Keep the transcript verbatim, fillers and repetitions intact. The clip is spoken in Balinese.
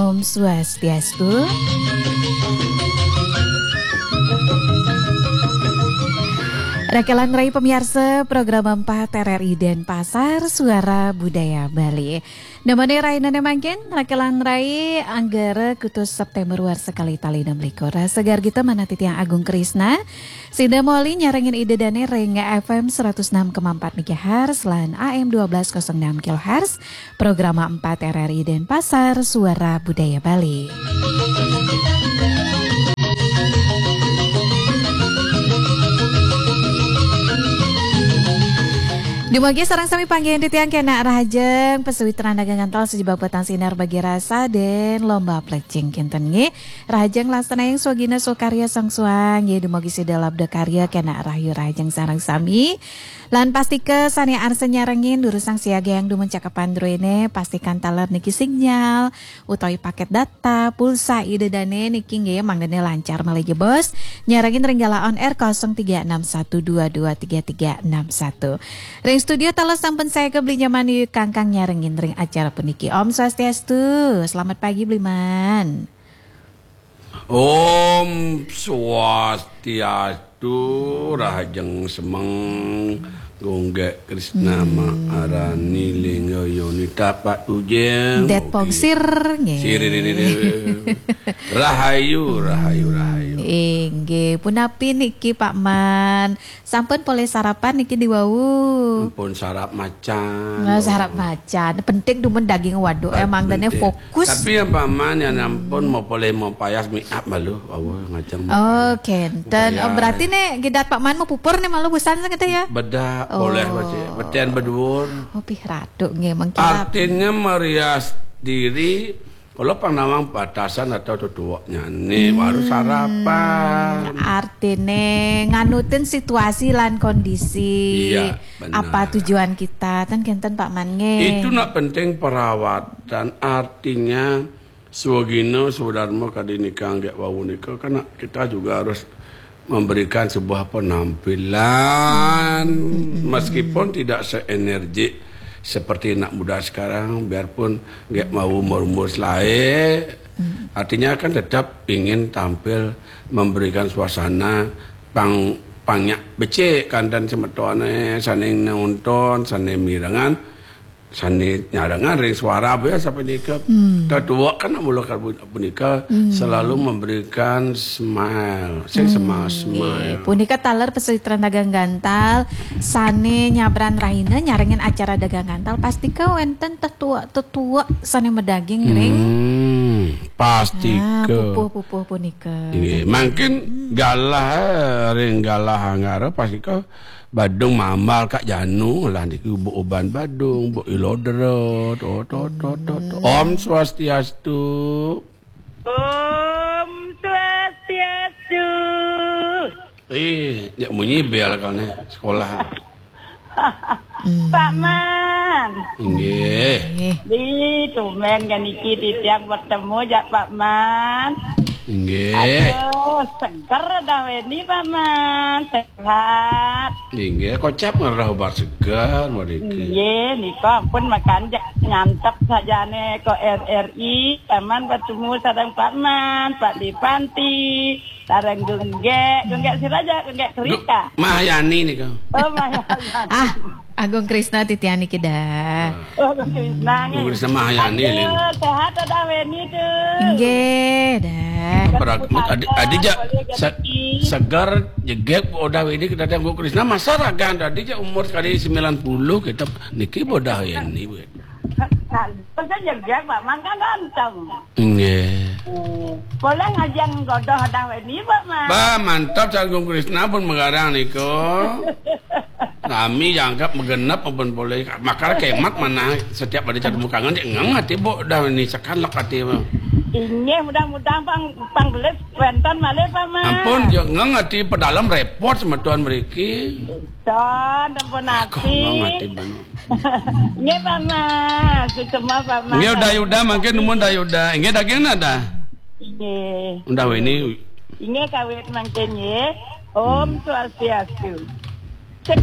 Om Swastiastu. Rakelan rai pamiarsa program empat R R I Denpasar, Suara Budaya Bali. Namane rainane mangkin, rakelan rai Anggara kutus September warsa kalih tali enam likur. Sagar gita manah titiang Agung Krisna, sida moli nyarengin Ida Dane ring F M seratus enam koma empat megahertz lan A M dua belas kosong enam kilohertz, Programa empat R R I Denpasar, Suara Budaya Bali. Dumogi sareng sami panggihin titiang kenak rahajeng, pasawitran dagang gantal sajebag petang sinar bagi rasa dan lomba plecing kinten nggih. Rahajeng laksanaing swagina swakarya sangsuang nggih, dumogi sida labda karya kenak rahayu rahajeng sareng sami. Lan pastika sane arsa nyarengin durusang siaga yang dumun cakepan druene, pastikan taler niki sinyal utawi paket data pulsa Ida Dane niki nggih mangdane lancar malih jebos nyarengin ring galah on air kosong tiga enam satu dua dua tiga tiga enam satu. Ring studio taler sampun saya ke Beli Nyaman Yu Kangkang nyarengin ring acara puniki. Om Swastiastu. Selamat pagi Bliman. Om Swastiastu, rahajeng semeng, Gunggek Krisna Maharani Lingga Yoni Tapak Tujeng. Det Oke. Pongsir, nggih. Siririririri. Rahayu, rahayu, rahayu. Inggih, punapi niki Pak Man? Sampun polih sarapan niki diwau? Ampun sarap macan. Nah, sarap macan. Penting dumun daging waduk, emang dene penting. Fokus. Tapi yang paman yang ampun mau polih mau payas make up malu. Awal ngajeng mau Oh, payas. Kenten. Oh, payas. Berarti nih gidat Pak Man mau pupur nih malu busan gitu ya? Bedak, oh. Boleh baca. Betian beduur. Oh, pih ratu nggih mengkilap. Artinya merias diri kalau pang nawang batasan atau tutuaknya nih baru sarapan. Artine nganutin situasi lan kondisi. Iya, benar. Apa tujuan kita? Ten kenten Pak Man nggih. Itu nak penting perawatan. Artinya swagina swadarma kadi nika nggih wau nika kan kita juga harus memberikan sebuah penampilan meskipun tidak seenergik seperti anak muda sekarang, biarpun nggak mau umur-umur selae, artinya kan tetap ingin tampil memberikan suasana pang panyak becik kandan semetone saning nonton, saning mirengan, sane nyarengan ring suara apa ya sampai nika. Tetua kan mula punika selalu memberikan smile, sing smile smile. Punika taler pasawitran dagang gantal sane nyabran rahina nyarengin acara dagang gantal pastika wenten tetua-tetua sane madaging ring. Hmm, pastika. Ah, pupuh-pupuh punika. Nggih, mangkin galah, eh, ring galah Anggara pastika badung mambal Kak Janu lah niki buk uban badung, buk ilodra, to, to, to, to, to. Om Swastiastu. Om Swastiastu. Eh, ya munyi bel kane sekolah. Pak Man. Nggih. Di tumben kan niki titiang bertemu jak Pak Man. Nggih. Aduh, seger dah Weni Pak Man. Sehat. Nggih, kocap ngerah obat seger mereka. Nggih, nika ampun makan jak nyantep sajane ko R R I, Pak Man bertemu sareng Pak Man, Pak Dipanti. Sareng Gunggek, Gunggek sira aja, Gunggek Krista. Mahyani nika. Oh, Mahyani. Ah, Agung Krisna titiang niki dah. Oh, Agung Krisna nggih. Agung Krisna Mahyani. Aduh, sehat dah Weni tuh. Nggih, dah. Adi, adi jak segar jegek udah Weni kita Agung Krisna masa ragan tadi jak umur sekali sembilan puluh kita niki bodah Weni. Nah, terus aja dia, Pak Man kan ganteng. Nggih. Hmm. Boleh ngajeng godoh dah ini, Pak Man. Bah, mantap, Cak Agung Krisna pun mengarang niku. Kami jangkep megenep pun boleh. Makar kemat mana setiap ada catu mukangan, dia ngeng hati, Bu, dah ini sekan lek hati, Bu. Inggih, mudah-mudahan pang, panggelis wenten malih, Pak Man. Ampun, ya ngeng hati pedalem repot sama Tuan mriki. Don, ampun hati. Ngeng hati banget. Nggih, Pak Mas. Suksma, Pak Mas. Nggih, Uda Yuda mangkin numun Uda Yuda. Nggih, daging nada. Nggih. Uda Weni. Nggih, kawit mangkin nggih. Om Swastiastu.